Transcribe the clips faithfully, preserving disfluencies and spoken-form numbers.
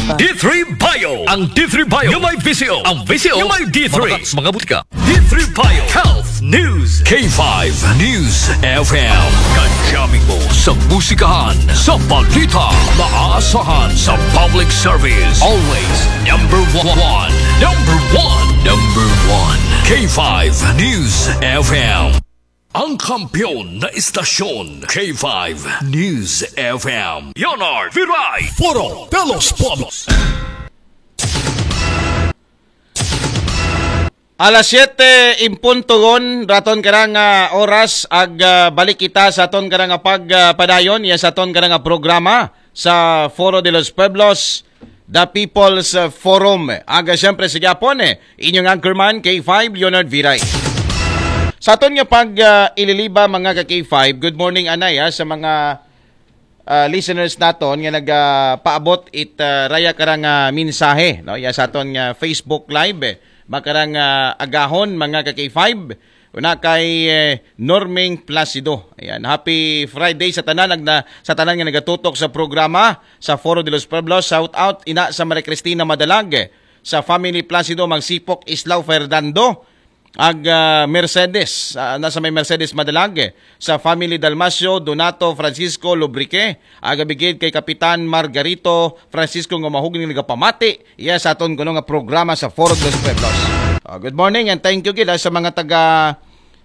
D three Bio. Ang D three Bio nga may visyo. Ang visyo nga may D three. Mga, mga butika. D three Bio Health News. K five News F M. Kadyamin mo sa musikahan, sa balita, maasahan sa public service. Always number one. Number one. Number one. K five News F M. Ang kampiyon na istasyon, K five News F M. Leonard Viray. Foro de los Pueblos. Alas siyete en punto gon, raton karang ah, oras, ag ah, balik kita sa aton karang ah, pag ah, padayon, iya sa aton karang ah, programa sa Foro de los Pueblos, The People's ah, Forum. Aga siyempre sa Japon, eh, inyong anchorman, K five, Leonard Viray. Sa aton nga pag ah, ililiba, mga ka K five, good morning, anay, ah, sa mga ah, listeners naton nga nagapaabot it ah, raya karang ah, mensahe, no? Ya sa aton nga Facebook Live, eh. Makarang ah, agahon, mga ka K five. Una kay eh, Norming Placido. Ayan, happy Friday sa tanan, nagna, sa tanan nga nagatutok sa programa sa Foro de los Pueblos. Shout out ina sa Maria Cristina Madalag, eh, sa family Placido, Magsipok, Islao, Fernando, ag ah, Mercedes, ah, nasa may Mercedes Madalag, eh, sa family Dalmacio, Donato, Francisco, Lubrique, ag abigid kay Kapitan Margarito Francisco nga mahugni nagapamati, yes, aton kuno nga programa sa Foro de los Pueblos. Ah, good morning and thank you gid ah, sa mga taga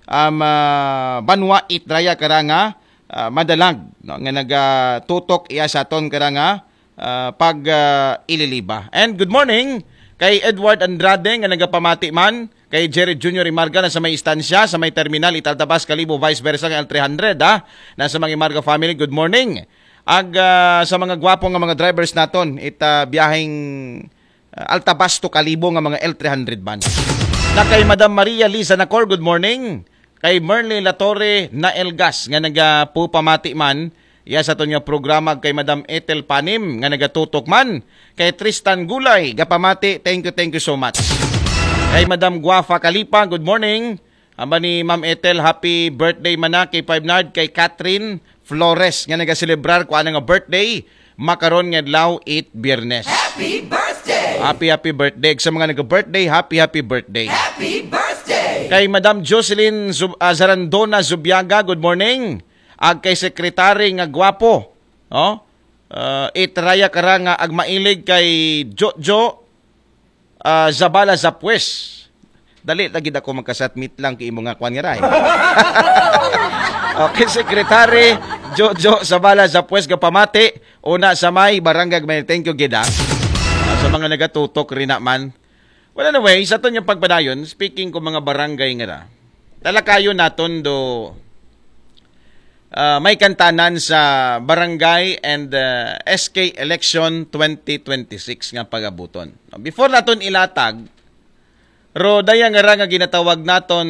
um, ah, Banwa Itraya karanga ah, Madalag, no, nga nagatutok iya sa aton karanga ah, pag ah, ililiba. And good morning kay Edward Andrade nga nagapamati man, kay Jerry Junior Imarga na sa may istansya, sa may terminal, Italtabas, Kalibo, vice versa, ng L three hundred, ah, na sa mga Imarga family, good morning. Ag ah, sa mga gwapo nga mga drivers naton, ita biyaheng ah, Altabas to Kalibo nga mga L three hundred van. Na kay Madam Maria Liza Nacor, good morning. Kay Merly Latorre na Elgas nga nagapupamati man, iya sa aton nga programa, kay Madam Ethel Panim nga nagatutok man, kay Tristan Gulay gapamati, thank you, thank you so much. Kay Madam Guafa Kalipa, good morning. Amba ni Ma'am Ethel, happy birthday man na kay Five Nard, kay Catherine Flores nga nagaselebrar ko ana nga birthday makaron nga adlaw, it Biyernes. Happy birthday! Happy, happy birthday. Sa mga nag-birthday, happy, happy birthday. Happy birthday! Kay Madam Jocelyn Zub- ah, Zarandona Zubiaga, good morning. Ag kay Secretary nga gwapo, no? Ah, itraya kara nga agmailig kay Jojo ah, Zabala Zapwes. Dali lagi ako magkasatmit lang kay imo nga kwan nga ray. Okay, Secretary Jojo Zabala Zapwes, gapamati. Una sa may barangay, may thank you gid, ah. Ah, sa mga nagatutok rin naman. Well, anyway, sa aton nga pagpadayon, speaking ko mga barangay nga ra, talakayon naton do ah, may kantanan sa barangay and ah, S K election twenty twenty-six nga pagabuton. Before naton ilatag, ro daya nga ra nga ginatawag naton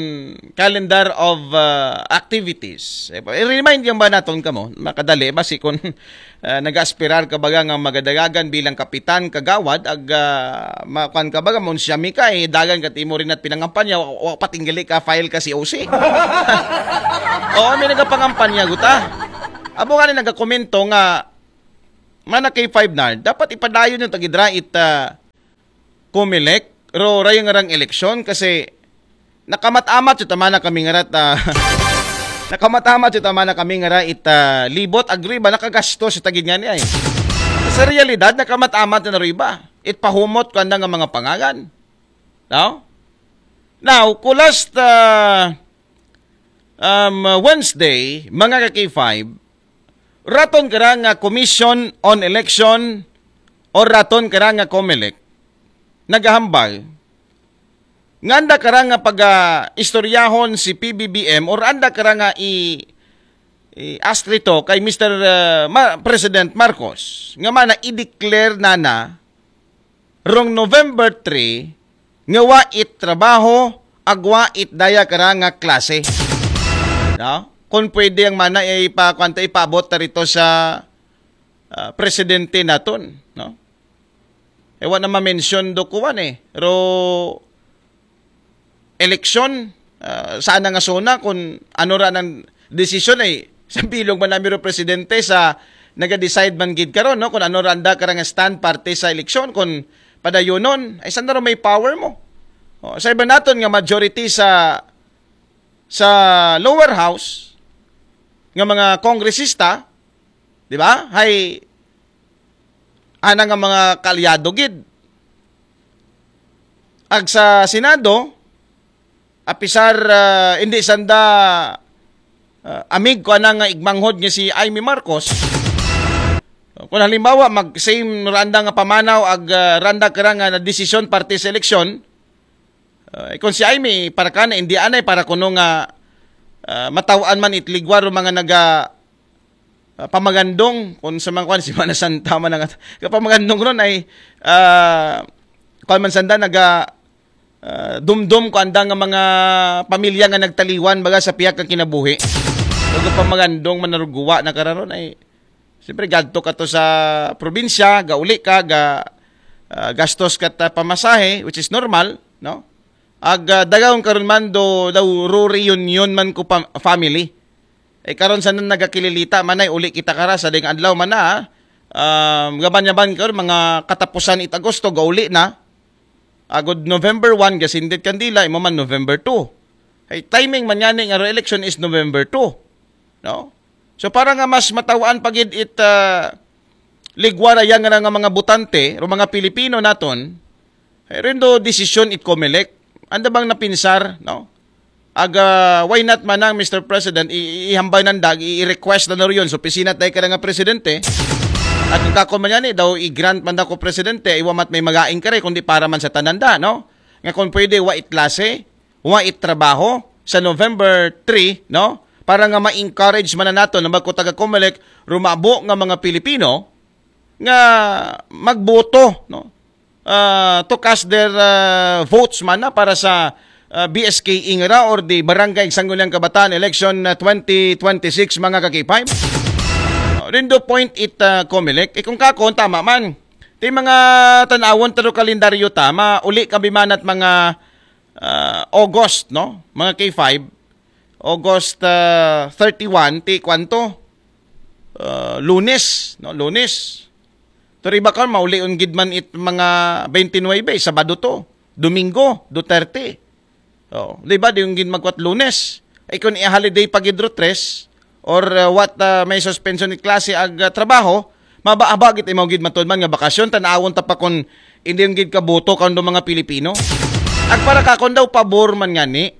calendar of ah, activities. Eh, i-remind yung ba naton kamo, makadali, basi kung ah, nag-aspirar ka baga nga magadagagan bilang kapitan, kagawad, ag ah, makuan ka baga, munsyami ka, eh, dagan ka timo rin at pinangampanya, wa, wa patinggali ka, file ka C O C. Oo, may nagapangampanya, guta. Abo nga ni nagakomento nga, mana kay Five Nard, dapat ipadayon yung tagidra it ah, Comelec, ro rayang rang eleksyon kasi nakamat-amat yung tama na kami nga rat, ah, nakamat-amat yung tama na kami nga ra it ah, libot, agree ba, nakagasto sa tagid nga niya eh. Sa realidad, nakamat-amat na ro iba. It pahumot ko anda nga mga pangagan. No? Now, ku last ah, um, Wednesday, mga ka K five, raton kara nga Commission on Election o raton kara nga Comelec, nagahambal, nga anda kara nga pag-istoryahon si P B B M or anda kara nga i, i astrito kay Mister ah, Ma- President Marcos, nga mana i-declare na na rong November three, nga wa it trabaho, agwa it daya kara nga klase. No? Kung pwede ang mana, eh, ipa, kwanta, ipabot ta rito sa ah, presidente naton, no? Eh, wa na ma-mention do kuwan eh. Ro eleksyon, ah, sana nga sona kung ano ra nang desisyon ay sa bilog man nami ro presidente sa naga-decide man gid karon, no, kung ano ra anda kara nga stand parte sa eleksyon, kung padayonon, ay sanda ra may power mo. O, sa iba naton nga majority sa sa lower house nga mga kongresista, di ba? Hay ana nga mga kaalyado gid. Ag sa Senado, apisar ah, hindi sanda ah, amig ko ana nga igmanghod nga si Imee Marcos. Kung halimbawa mag same ra anda nga pamanaw ag ah, ra anda kara nga desisyon parte sa eleksyon, ah, kung si Imee para kana hindi anay para kuno nga ah, mataw-an man it ligwar o mga naga ah, pamagandong kung sa mga kwan si Mana Santa man ang pamagandong ron ay ah, kwan man sanda naga ah, dumdum ko anda nga mga pamilya nga nagtaliwan baga sa piyak nga kinabuhi. Ug pamagandong manaruguwa na kararon ay siyempre gadto ka to sa probinsya, gauli ka, ga ah, gastos ka ta pamasahe, which is normal, no? Ag ah, dagaon karon man do daw ro reunion man ko pa, family. Eh karon sa nagakililita man ay uli kita kara sa ding adlaw man na. Um, gaban-yaban karon mga katapusan it Agosto gauli na. Agod November one gasindit kandila imo man November two. Ay timing man yani nga election is November two. No? So para nga mas matawaan pa gid it ah, ligwara yang nga mga botante o mga Pilipino naton, ay rindo desisyon it Comelec. Anda bang napinsar, no? Aga, why not man ang Mister President, i- i- ihambay nandag, i- i-request na rin yun. So, pisinat dahil ka na nga presidente. At kung kako man yan eh, daw i-grant man ako presidente, iwa mat may magaing ka rin, kundi para man sa tananda, no? Nga kung pwede, wa itlase, wa it trabaho sa November three, no? Para nga ma-encourage man na nato na magko taga Comelec, rumabo nga mga Pilipino nga magboto, no? Ah, to cast their ah, votes man na para sa ah, B S K Ingra or the Barangay Sangguniang Kabataan Election ah, twenty twenty-six, mga ka-K five. Rindo point it ah, Comelec. Eh, kung kakon, tama man. Ti mga tanawon taro kalendaryo ta, mauli kami man at mga ah, August, no? Mga K five, August ah, thirty-one, ti kwanto? Ah, Lunes, no? Lunes. Pero iba ka, mauli gid man it mga twenty-nine, Sabado to. Domingo, Duterte. Oh, di ba, di yung gid magkwat Lunes. Ay kung i-holiday pa gid ro tres, or uh, what uh, may suspension ni klase ag uh, trabaho, mabahaba gid imo gid matuod man nga bakasyon, tanawon ta pa kung hindi yung gid kaboto kang do mga Pilipino. Ag para ka kung daw pabor man nga ni,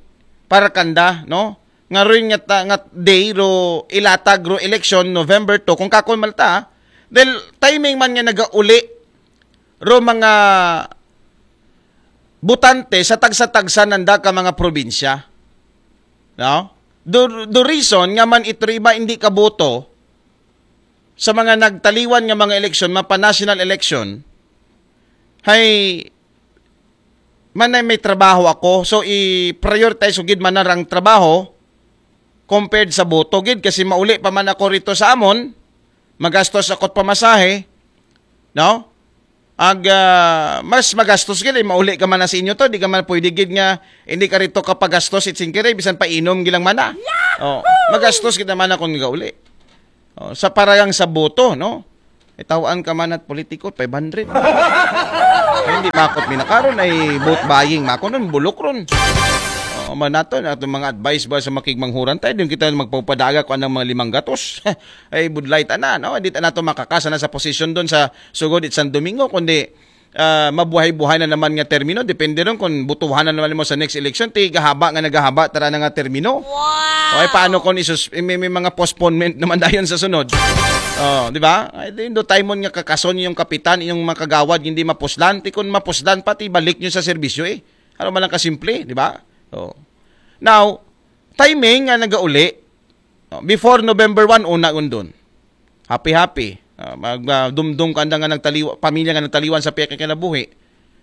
para kanda, no? Nga rin nga, ta- nga day ro ilatag ro election November two, kung kakon malta, dahil timing man nga nagauli ro mga butante sa tagsa-tagsa nanda ka mga probinsya. No? The, the reason nga man ito iba hindi kaboto sa mga nagtaliwan nga mga eleksyon, mapa national election, hay man ay may trabaho ako, so i-prioritize ko gid man na rang trabaho compared sa boto gid kasi mauli pa man ako rito sa amon, magastos ako't pamasahe, no? Ag ah, mas magastos gid eh, mauli ka man na sa inyo to, di ka man pwede gid nga hindi ka rito kapagastos it singkiri, bisan pa inom gilang mana. Oh, magastos gid naman akong gauli. Oh, sa paragang sa boto, no? Itawaan ka man at politiko, five hundred. Ay, hindi makot minakaron ay vote buying, mako nun, bulok ron. Oh, man nato, na itong mga advice ba sa makigmanghuran tayo, yung kita magpapadaga ko anang mga limang gatos. Ay, budlay ta na, no? Hindi ta na to makakasa na sa posisyon doon sa sugod it San Domingo, kundi ah, mabuhay-buhay na naman nga termino. Depende ron kung butuhan na naman mo sa next election, ti gahaba nga nagahaba tara na nga termino. Wow! O ay paano kung isus may, may mga postponement naman dayon sa sunod? Oh, di ba? Ay di do time nga kakason yung kapitan, yung mga kagawad hindi mapuslan, ti kung mapuslan pati balik nyo sa serbisyo eh. Ano man lang kasimple, di ba? Oh. Now, timing nga nagauli, no, before November one, una undon. Happy-happy. Ah, mag ah, dumdum ka anda nga nagtaliwa, pamilya nga nagtaliwan sa piyakay kinabuhi.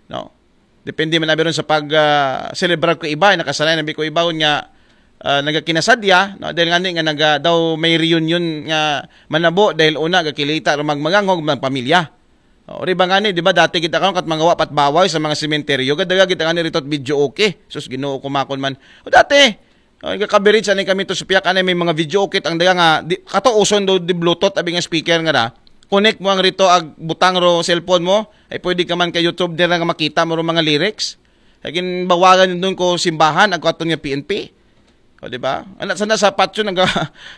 No? Depende man abi ron sa pag ah, celebrar ko iba, nakasanay na bi ko iba nga ah, nagakinasadya, no? Dahil nga ni nga naga, daw may reunion nga manabo dahil una gakilita ro magmaganghog mga pamilya. O, riba nga ni, di ba dati kita karon kat mga wapat bawaw sa mga sementeryo, gadaga kita nga ni rito at video okay. Sus, Ginoo kumakon man. O dati, Oh, ika coverage ani kami to supiak ani may mga video kit ang daga nga di, kato uson do di Bluetooth abi nga speaker nga da. Connect mo ang rito ag butang ro cellphone mo, ay pwede ka man kay YouTube dira nga makita mo ro mga lyrics. Kay ginbawagan yun doon ko simbahan, ag aton nga P N P. O, di ba? Ana sana sa patyo naga,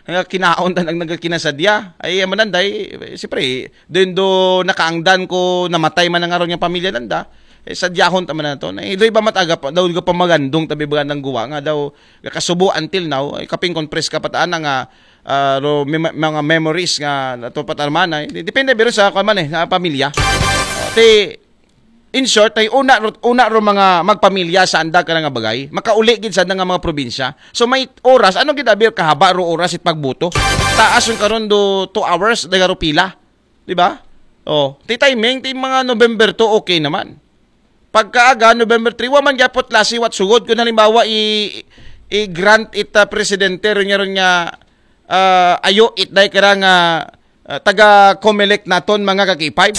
naga kinaon ta nag naga kinasadya. Ay amanan day, siyempre, doon do nakaangdan ko namatay man ang aron nga pamilya nanda. Eh, sadyahon ta man na to. Na, eh, doy ba mataga pa, daw ka pamagandong tabi ba ng guwa nga daw kakasubo until now, ay kaping kon pres ka pataan nga ah, ro, may, mga memories nga nato patarmana. Eh, depende biro sa kwan man eh, sa pamilya. Te, in short, ay una, ro- una ro mga magpamilya sa anda ka nga bagay, makauli gid sa anda nga mga probinsya. So may oras, ano gid abi kahaba ro oras it pagbuto? Taas yung karon do two hours, daga ro pila. Di ba? Oh, ti timing, ti mga November two, okay naman. Pagkaaga, November three, wa man gyapot lasi wat sugod. Kung halimbawa, i, i-grant it ah, presidente, ron niya, ron niya, ah, ayo it day kara nga ah, taga Comelec naton, mga ka-K five.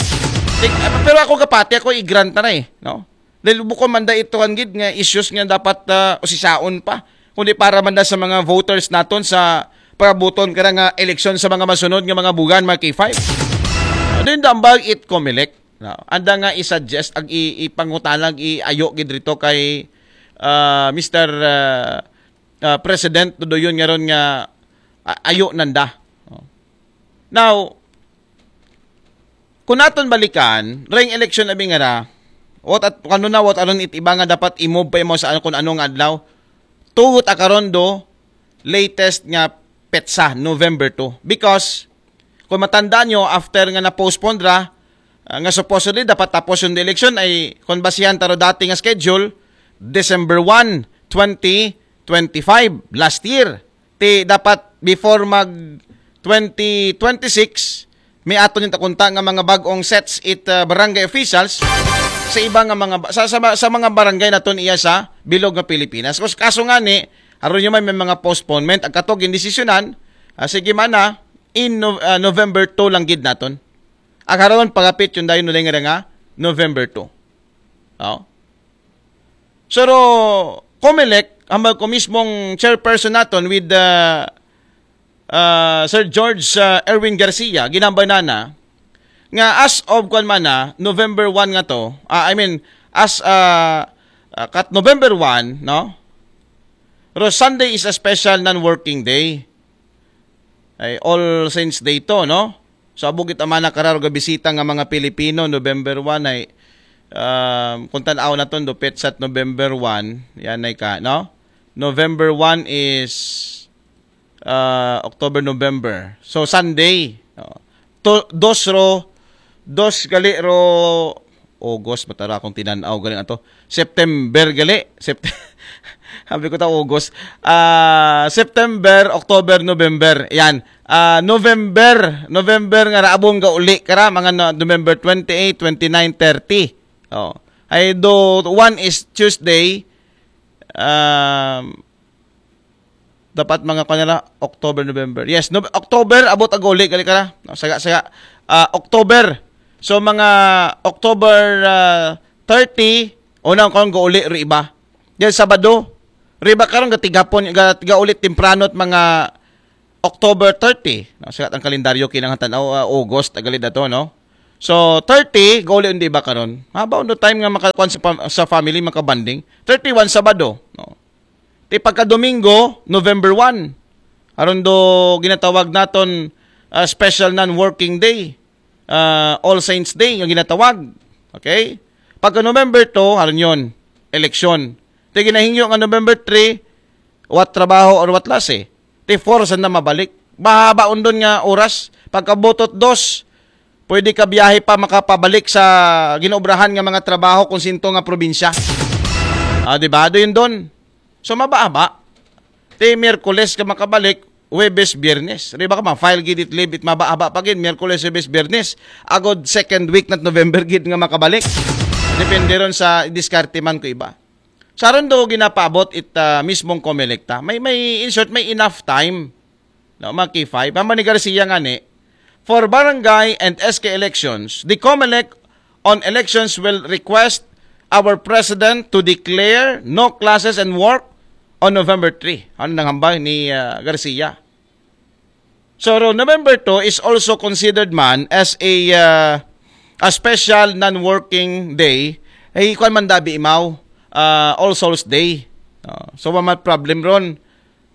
Tik- ah, pero ako kapati, ako i-grant na na eh. No? Dahil bukon man da ito ang gid nga issues nga dapat ah, usisaon pa. Kundi para man da sa mga voters naton sa pagabuton kara nga eleksyon sa mga masunod nga mga bugan, mga K five. Ano yung dambag it Comelec? No? Anda nga i-suggest, ag i- ipangutanag, i-ayo gid rito kay ah, Mister ah, ah, President Dudoyon nga ron nga ah, ayo nanda. No? Now, kung naton balikan, ring election abi nga ra, what at, ano na, what aron it iba nga dapat i-move pa mo sa kung anong adlaw, tugot akaron do, latest nga petsa, November two. Because, kung matandaan nyo, after nga na-postpone ra, ah, nga supposedly dapat tapos yung election ay, kung basihan taro dati nga schedule, December one, twenty twenty-five, last year. Ti dapat before mag twenty twenty-six, may aton yung takunta nga mga bag-ong sets it uh, barangay officials sa iba nga mga ba- sa, sa, sa mga barangay naton iya sa bilog nga Pilipinas. Kus- Kaso nga ni, aron yung may, may mga postponement ang katog yung desisyonan, ah, sige man na in no, ah, November two lang gid naton. Ang karon pagapit yung dayon nulay nga November two. Oh. Pero Comelec, hambal ko mismong chairperson naton with uh, uh, Sir George uh, Erwin Garcia, ginambay na na, nga as of kwan man na, November one nga to, ah, I mean, as uh, uh, kat November one, no? Pero Sunday is a special non-working day. Ay, All Saints Day to, no? So, abog it amana kararo ga bisita nga mga Pilipino, November one ay, um, kung tanaw na ton, dupit sa November one, yan ay ka, no? November one is uh, October, November. So, Sunday. No? To, dos ro, dos gali ro, August, matara akong tinanaw galing ato. September gali. Sept Sabi ko ta August. Ah, September, October, November. Yan. Ah, November, November nga raabong gauli kara mga no, November twenty-eight, twenty-nine, thirty. Oh. Ay do one is Tuesday. Um, dapat mga kanila October, November. Yes, no, October abot ag uli gali ka na. No, saga saga ah, October. So mga October ah, thirty, unang kon go uli ri iba. Yan Sabado. Ri iba karon gatigapon ga, ga uli temprano at mga October thirty. No, sagat ang kalendaryo kinahanglan tan-aw ah, August agalid ato no. So thirty go uli undi iba karon. Haba undo time nga makakuan sa, pam- sa family makabanding. Thirty-one Sabado, no. Ti pagka Domingo, November one. Aron do ginatawag naton ah, special non-working day. Ah, All Saints Day nga ginatawag. Okay? Pagka November two, aron yon, eleksyon. Ti ginahingyo nga November three, what trabaho or what lase. Ti four sa na mabalik. Mahaba undon nga oras. Pagkabutot dos, pwede ka biyahe pa makapabalik sa ginobrahan nga mga trabaho kung sinto nga probinsya. Ah, di ba? Do yun doon. So, mababa. Ti Miyerkules ka makabalik, Huwebes, Biyernes. Di ba ka ma-file gid it leave it mababa pa gid, Miyerkules, Huwebes, Biyernes. Agod second week na November gid nga makabalik. Depende ron sa diskarte man ko iba. Sa ron do ginapaabot it ah, mismong Comelec ta. May, may, in short, may enough time. No, mga K five. Ang ni Garcia nga ni, for barangay and S K elections, the Comelec on elections will request our president to declare no classes and work on November three. Ano nang hambal ni ah, Garcia? So, ro, November two is also considered man as a ah, a special non-working day. Ay, kuwan man dabi imaw, ah, All Souls Day. Ah, so, wa mat problem ron.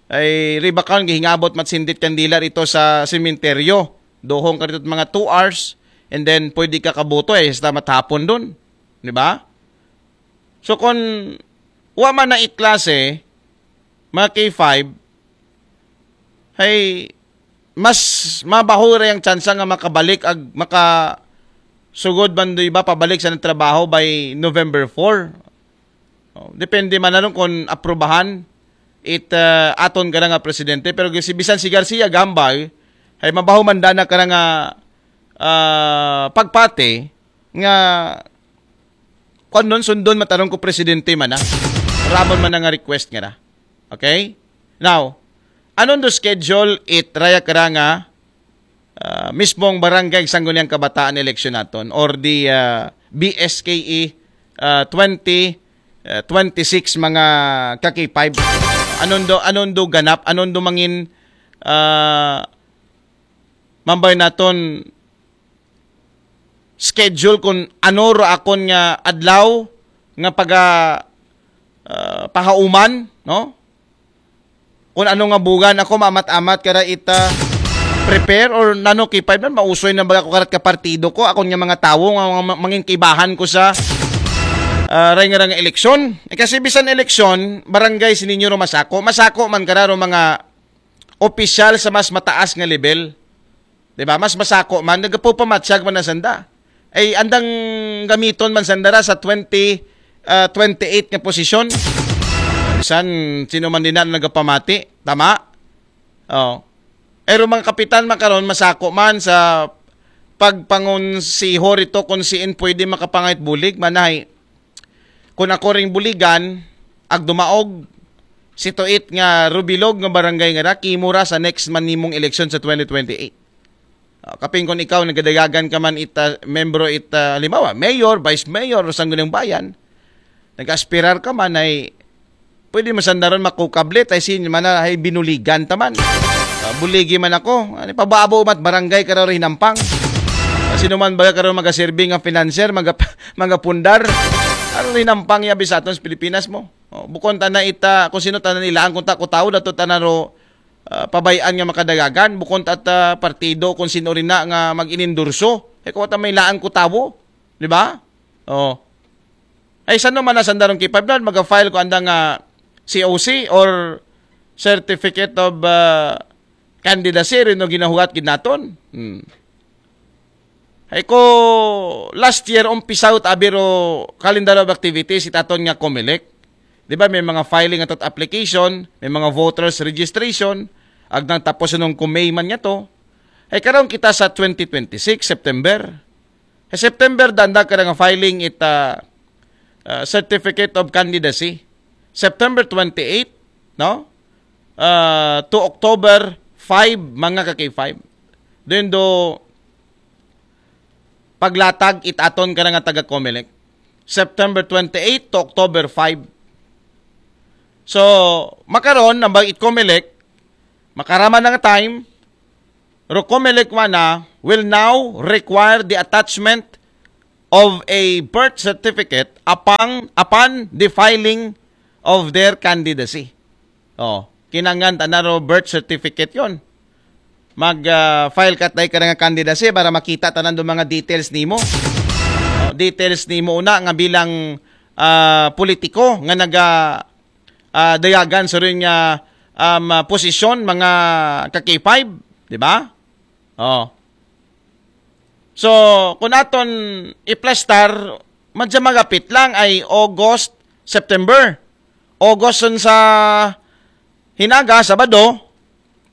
Ay, riba karon gihingabot mat sindit kandila rito sa sementeryo. Duhong ka rito mga two hours, and then pwede ka kabuto eh, sa matapon dun. Di ba? So, kung wa man na iklase, mga K five, ay mas mabaho ra yung tsansa nga makabalik ag maka sugod man do iba pabalik sa trabaho by November four. Oh, depende man na ron kung aprubahan it ah, aton ka nga presidente. Pero si bisan si Garcia gambay, ay mabaho man dana ka nga ah, pagpati nga kung nun sundon mataron ko presidente man na. Ramon man na nga request nga na. Okay? Now, anon do schedule it raya kara nga ah, mismong barangay sangguniang kabataan election naton or the ah, B S K E ah, twenty ah, twenty-six mga ka-K five. Anon do, anon do ganap, anon do mangin ah, mambay naton schedule kung ano ro akon nga adlaw nga paga ah, pahauman, no? Kung ano nga bugan ako maamat-amat kara ita prepare or nano K five man, mausoy na baga ko karat ka partido ko, akon nga mga tawo nga mga ma- mangin kaibahan ko sa ah, ray nga ray nga eleksyon. Eh, kasi bisan eleksyon, barangay sininyo ro masako. Masako man kara ro mga opisyal sa mas mataas nga level. Di ba? Mas masako man, nagapupamatsag man na sanda. Ay, andang gamiton man sanda ra sa twenty, ah, twenty-eight nga posisyon. Bisan, sino man din na nagapamati. Tama? Oh. Pero mga kapitan makaron, masako man sa pagpangonsiho rito kung siin pwede makapangayat bulig, manay. Kung ako ring buligan, ag dumaog, situit nga rubilog nga barangay nga ra, kimura sa next man nimong eleksyon sa twenty twenty-eight. Ah, kaping kung ikaw, nagadayagan ka man ita, membro ita, halimbawa, mayor, vice mayor, o sanggunang bayan, nag-aspirar ka man ay, pwede mo sandaron makukablit, ay sin man na, ay binuligan ta man. Ah, buligi man ako, ano, pababo mat barangay ka raw hinampang. Ah, sino man baga ka raw magaserbi nga financier, mga, mga pundar, ano hinampang ya bisaton sa Pilipinas mo? Oh, bukon ta na ita, kung sino ta na nilaan, kung ta ko tao, dato ta na ro, ah, pabayaan nga makadagagan, bukon ta ta partido, kung sino rin na nga mag-inendorso. Eh, kung ta may laan ko tao, di ba? Oh. Ay, saan naman na sandarong K five na, mag-file ko anda nga C O C or Certificate of ah, Candidacy, rin no ginahugat ginaton. Hmm. Ay ko, last year, umpisa ut abiro calendar of activities itaton nga Comelec. Di ba, may mga filing atot application, may mga voters registration, agdang tapos nung kumay man nga to. Ay karon kita sa twenty twenty-six, September. Sa September, danda ka nga filing it ah, ah, Certificate of Candidacy. September twenty-eight, no? Ah, to October five, mga ka-K five. Then do, paglatag itaton ka nga taga-Comelec. September twenty-eight to October five. So, makaron, nambag it Comelec, makarama na nga time, Ro Comelec wana will now require the attachment of a birth certificate upon, upon the filing of their candidacy. Oh, kinangan ta na ro birth certificate yon. Mag ah, file ka tayo ka nga candidacy para makita tanan do mga details nimo. Oh, details nimo una nga bilang ah, politiko nga naga ah, dayagan sa rin nga um, ah, posisyon, mga ka-K five, di ba? Oh. So, kung aton iplastar, madya magapit lang ay August, September. August sun sa hinaga, Sabado,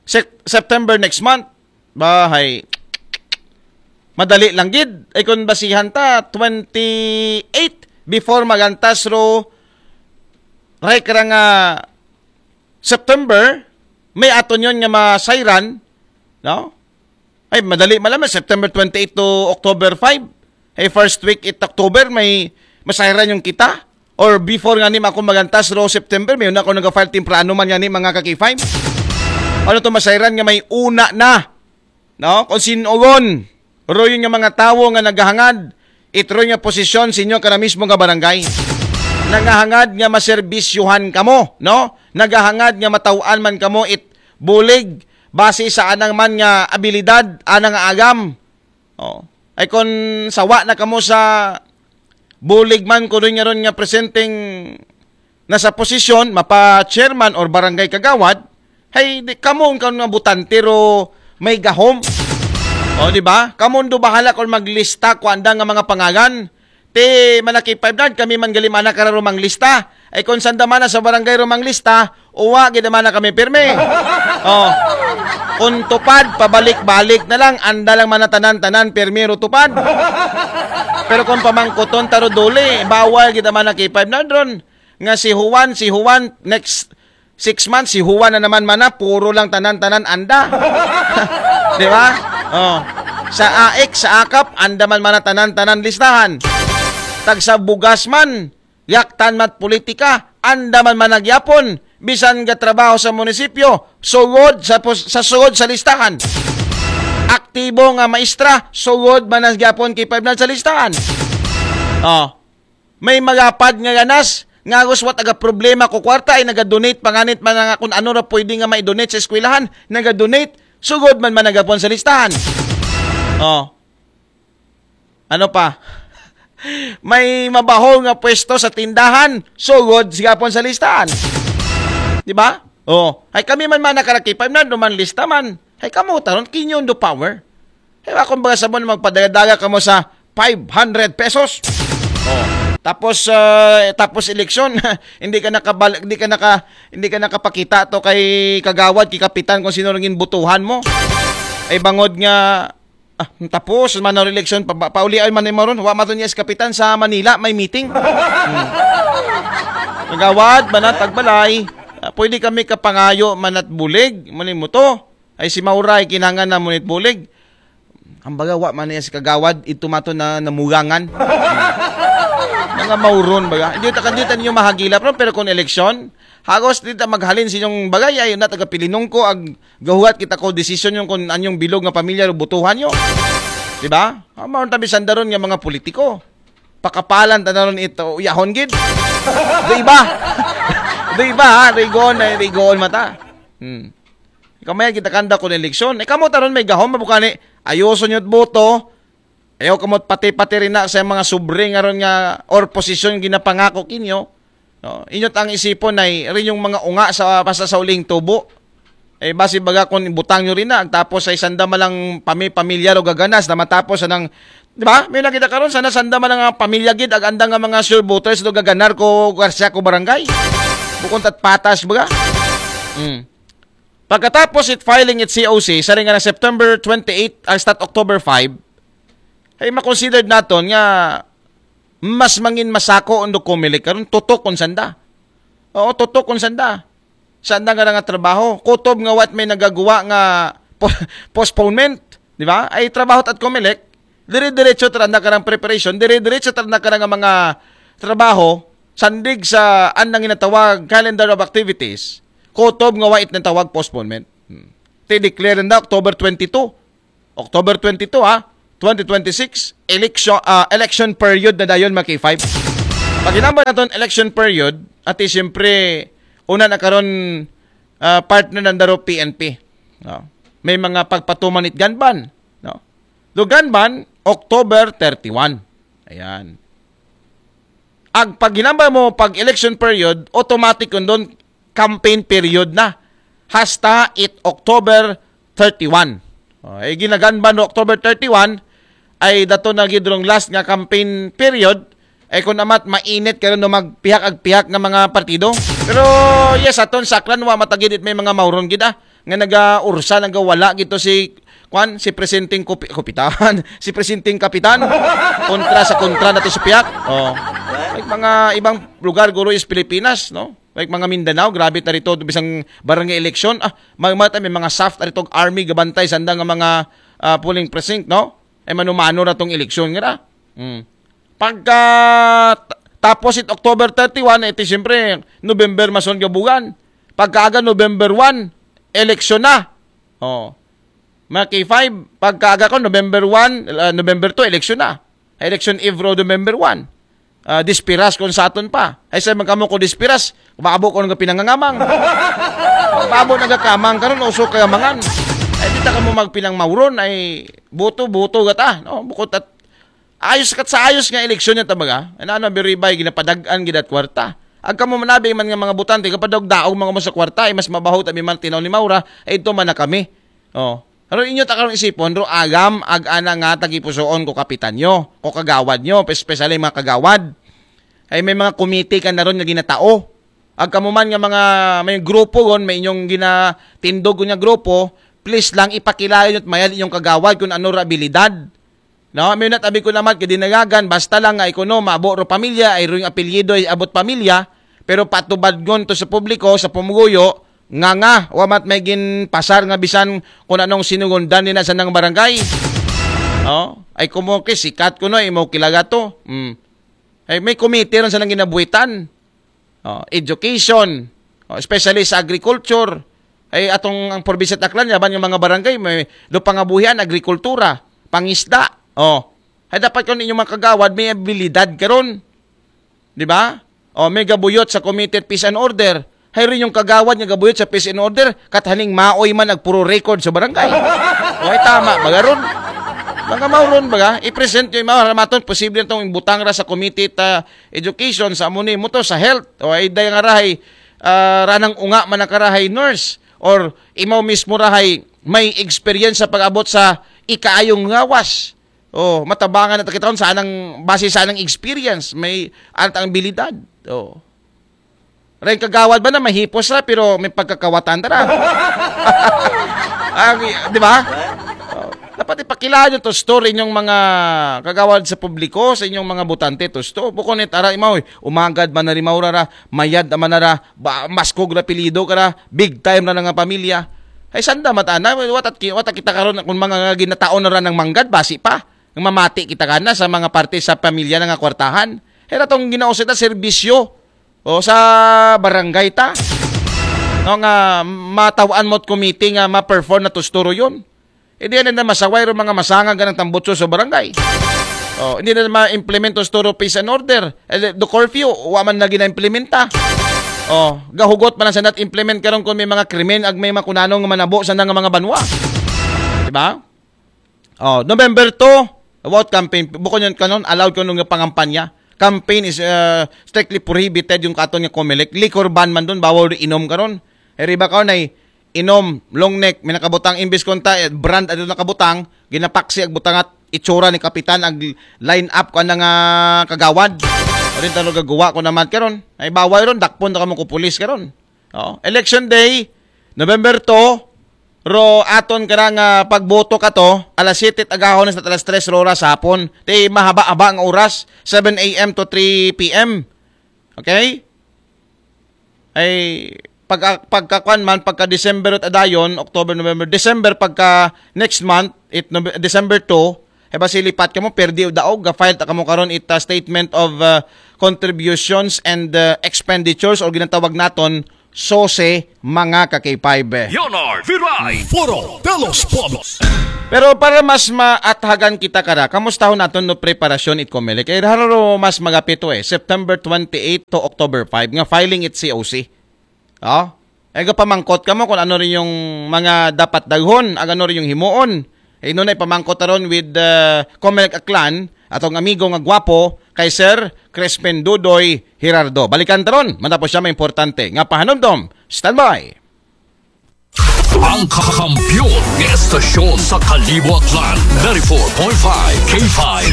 Sep- September next month. Bahay. Madali lang gid. Ay kung basihan ta, twenty-eight before magantas ro, right ka nga September, may aton yon nga masayran, no? Ay, madali malaman, September twenty-eight to October five. Ay, first week it October, may masayran yung kita. Or before nga ni ako magantas ro September, may una ko nag-file temprano man nga ni mga ka-K five. Ano to masayran nga may una na? No? Kung sinugon, ro yun nga mga tawo nga naghahangad, it ro nga posisyon sa inyo kana mismo nga barangay. Nagahangad nga maserbisyuhan kamo, no? Nagahangad nga matawaan man kamo it bulig base sa anang man nga abilidad, anang nga agam. Oh. Ay kung sawa na kamo sa bulig man ko rin nga ron nga presenting nasa posisyon, mapa chairman or barangay kagawad, hay di kamo ang nga butante ro may gahom. O, di ba? Kamo do bahala kung maglista ko anda nga mga pangalan. Ti malaki five na, kami man galimana kararo manglista. Ay kung sanda man na sa barangay ro manglista, uwa gid man na kami pirmi. Oh. Kung tupad, pabalik-balik na lang, anda lang man na tanan-tanan, pirmi ro tupad. Pero kung pamangkuton taro duli, bawal gid man na K five na ron. Nga si Juan, si Juan, next six months, si Juan na naman man na, puro lang tanan-tanan anda. Di ba? Oh. Sa AIC, sa akap, anda man man na tanan-tanan listahan. Tagsa bugas man, yaktan mat politika, anda man man nagyapon. Bisan ga trabaho sa munisipyo, sugod sa, pos- sa sugod sa listahan. Aktibo nga maestra, sugod man na gyapon K five na sa listahan. Oh. May magapad nga ganas, nga guswat aga problema ko kwarta ay naga-donate panganit man nga kung ano ra pwede nga mai-donate sa eskwelahan, naga-donate, sugod man man nagapon sa listahan. Oh. Ano pa? May mabaho nga pwesto sa tindahan, sugod sigapon sa listahan. Di ba? Oh, ay kami man man nakarakipay na duman lista man. Ay kamo taron kinyo do power. Ay akong baga sabon magpadagadaga kamo sa five hundred pesos. Oh. Tapos uh, tapos eleksyon, hindi ka nakabal hindi ka naka hindi ka nakapakita to kay kagawad, kay kapitan kung sino ring butuhan mo. Ay bangod nga ah, tapos man ang eleksyon pa, paulian man ni maron, wa mato niya si kapitan sa Manila may meeting. Hmm. Kagawad, manat agbalay. Ah, pwede kami kapangayo manat bulig, mani mo to. Ay si Mauray kinangan na munit bulig. Ang baga wa man niya si kagawad ito mato na namugangan. Mga mauron baga. Hindi ta hindi ta ninyo mahagila pero pero kung eleksyon, hagos di ta maghalin sa inyong bagay ay na taga pilinong ko ag gahuwat kita ko desisyon yung kung anyong bilog nga pamilya o butuhan nyo. Di ba? Ang mga tabi sandaron nga mga politiko. Pakapalan ta na ron ito, uyahon gid. Di ba? Di ba ha? Rigon na rigon mata. Hmm. Kamaya kita kanda ko eleksyon. Eh, kamo taron may gahom, mabukani, ayoso nyo't boto. Ayaw kamot pati-pati rin na sa mga sobre nga ron nga or posisyon ginapangako kinyo. No? Inyot ang isipon ay rin yung mga unga sa basta sa uling tubo. Eh, basi baga kung ibutang nyo rin na, tapos ay sanda malang pami pamilyar o gaganas na matapos anang, di ba? May nakita karon sana sanda malang nga pamilya gid ag andang nga mga sure voters do gaganar ko Garcia ko barangay. Bukon tat patas baga. Hmm. Pagkatapos it filing it C O C, sa rin nga na September twenty-eight, ang start October five, ay makonsidered naton nga mas mangin masako ang Comelec karon tutok kung sanda. Oo, tutok kung sanda. Sanda nga nga trabaho. Kutob nga what may nagagawa nga po- postponement, di ba? Ay trabaho at Comelec, dire-diretso tranda karang preparation, dire-diretso tranda karang mga trabaho, sandig sa andang ginatawag calendar of activities, kutob nga wait ng tawag postponement. Hmm. Ti-declare na October twenty-two. October twenty-two, ha? Twenty twenty-six, election, ah, election period na dayon, mga K five. Pag hinambal naton election period, ati siyempre, una na karon ah, partner ng Daro P N P. No? May mga pagpatuman it gun ban. No? Do gun ban, October thirty-one. Ayan. Ag pag hinambal mo, pag election period, automatic yun doon, campaign period na. Hasta it October thirty-one. Oh, eh, ginaganban no October thirty-one, ay dato na gid rong last nga campaign period, ay kung amat mainit karon no magpihak ag pihak nga mga partido. Pero yes, aton saklan wa matagid it may mga mauron gid ah, nga nagaursa nagawala gito si kwan si presenting kupi, kupitan si presenting kapitan kontra sa kontra nato sa pihak. Oh. Like mga ibang lugar guro is Pilipinas, no? Like mga Mindanao, grabe ta rito bisang barangay election. Ah, may, may, may mga soft rito army gabantay sanda nga mga ah, polling precinct, no? Ay manumano na tong eleksyon nga na. Hmm. Pagka t- Tapos it October thirty-one, iti siyempre, November mason gabugan. Pagkaaga November one, eleksyon na. Oh. Mga K five, pagkaaga ko, November one, ah, November two, eleksyon na. Election Eve ro, November one. Ah, dispiras kung sa aton pa. Ay, sa man kamo ko dispiras, maabo ko nga pinangangamang. Maabo na gakamang karon, uso kayamangan. Ay, di ta kamo magpinangmauron, ay, buto-buto gata, no? Bukod at ayos kat sa ayos nga eleksyon niya tabaga. Ano, ano, biribay, ginapadag-an, gidat kwarta. Ag kamo manabi man nga mga butante, kapadog-daog mga mo sa kwarta, ay mas mabaho tabi man tinaw ni Maura, ay ito man na kami. Oh. Pero inyo ta karong isipon, ro agam, ag ana nga tagipusoon ko kapitan nyo, ko kagawad nyo, especially mga kagawad. Ay may mga komite ka na ron nga ginatao. Ag kamo man nga mga, may grupo gon, may inyong ginatindog ko nga grupo, please lang ipakilala nyo at mayad inyong kagawad kung ano ra abilidad. No, may natabi ko naman kadinagagan, basta lang nga ikuno, maabo ro pamilya, ay ro yung apelyido, ay abot pamilya, pero patubad ngon to sa publiko, sa pumuguyo, nga nga, wa mat may ginpasar nga bisan kung anong sinugundan nila sa nang barangay. Oh, ay kumo kay sikat kuno, imo kilaga to. Hmm. Ay may komite ron sa nang ginabuhitan. Oh, education, oh, especially sa agriculture. Ay atong ang probinsya at Aklan, yaban nga mga barangay, may do pangabuhian, agrikultura, pangisda. Oh, ay dapat kung inyong mga kagawad, may abilidad karon. Di ba? Oh, may gabuyot sa Committee at Peace and Order. Hay rin yung kagawad nga gabuyot sa Peace and Order, kathaning maoy man nagpuro record sa barangay. O ay tama, bagaron. Mga mauron baga, i-present yung mga haramaton, posible na itong butang ra sa Committee ta Education sa amo ni mo to sa health. O ay day nga rahay, ah, ranang unga man nakarahay nurse or imaw mismo rahay may experience sa pag-abot sa ikaayong ngawas. Oh, matabangan na kita sa anang base sa anang experience, may anang abilidad. Oh. Ray kagawad ba na mahipos ra pero may pagkakawatan tara. Ang, di ba? Oh. Dapat ipakilala nyo to store inyong mga kagawad sa publiko, sa inyong mga butante to store. Bukon ni tara imaw, eh, umagad man na rimaw ra, mayad man na ra, ba, maskog ra pilido ka ra, big time ra nga pamilya. Ay sanda matana, watat ki-, watat kita karon kung mga ginataon na ra ng manggad, basi pa. Nga mamati kita kana sa mga parte sa pamilya na nga kwartahan. Era tong ginausita serbisyo o sa barangay ta. No nga matawan mo't committee nga ma-perform na tusturo yun. Hindi yan na masaway ro mga masanga ganang tambutso sa barangay. Oh, hindi na ma-implement to store of peace and order. Eh, do curfew, wa man lagi na implementa. Oh, gahugot man ang sanat implement karon kung may mga krimen ag may makunanong manabo sa nga mga banwa. Di ba? Oh, November two, about campaign. Bukon yun kanon, allowed kanon nga pangampanya. Campaign is uh, strictly prohibited yung katon nga Comelec. Liquor ban man dun, bawal inom karon. Eh, riba karon ay inom, long neck, may nakabutang imbis konta, eh, brand ano nakabutang, ginapaksi ag butangat itsura ni kapitan ag line up ko nga kagawad. O rin talo gagawa ko naman karon. Ay bawal ron, dakpon na kamo ko pulis karon. Oh, election day, November two, ro aton ka nga pagboto ka to, alas siyete agahon sa alas tres ro oras hapon. Ti mahaba-haba ang oras, seven a m to three p m. Okay? Ay pag pagkakuan man pagka December at adayon, October, November, December pagka next month, it Nove- December two, ay ba silipat kamo perdi o daog, ga-file ta kamo karon it uh, statement of uh, contributions and uh, expenditures or ginatawag naton sose mga ka-K five. Leonard Viray, Foro de los Pueblos. Pero para mas maathagan kita kara, kamustahon naton no preparasyon it Comelec. Kay haro mas magapito eh, September twenty-eight to October five nga filing it C O C. Oh? Ay pamangkot kamo kung ano rin yung mga dapat daghon, ag ano rin yung himuon. Ay nunay pamangkot aron with uh, Comelec Aklan, atong amigo nga gwapo kay Sir Crispin Dudoy Hirardo. Balikan taron, matapos siya may importante nga pahanumdom. Standby! Ang kakampiyon ng estasyon sa Kalibo Aklan, ninety-four point five K five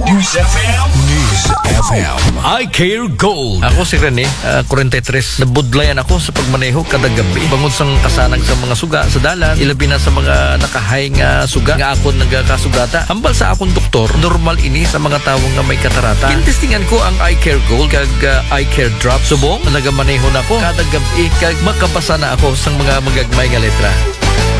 News F M. News F M. I Care Gold. Ako si Rene, ah, forty-three. Nabudlayan ako sa pagmaneho kada gabi. Bangod sang kasanag sa mga suga sa dalan, ilabi na sa mga nakahay nga suga nga akon nagakasugata. Hambal sa akong doktor, normal ini sa mga tawo nga may katarata. Gintestingan ko ang Eye Care Gold kag, ah, Eye Care Drop. Subong, nagamaneho na ko kada gabi kag makabasa na ako sa mga magagmay nga letra.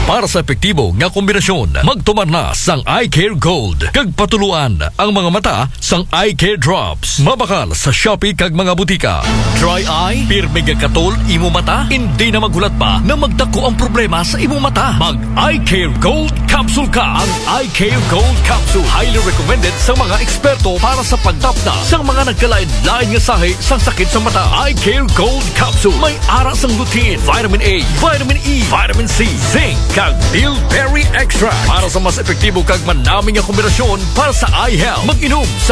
Para sa epektibo nga kombinasyon, magtumar na sang Eye Care Gold kag patuluan ang mga mata sang Eye Care Drops. Mabakal sa Shopee kag mga butika. Dry eye, pirmi nga katol imo mata, hindi na maghulat pa na magdako ang problema sa imo mata. Mag Eye Care Gold Capsule ka. Ang Eye Care Gold Capsule, highly recommended sa mga eksperto para sa pagtapna sa mga nagkalain-lain nga sahi sang sakit sa mata. Eye Care Gold Capsule, may ara sang lutein, vitamin A, vitamin E, vitamin C, zinc, kag bilberry extract para sa mas epektibo kag manami nga kombinasyon para sa eye health. Mag-inom sa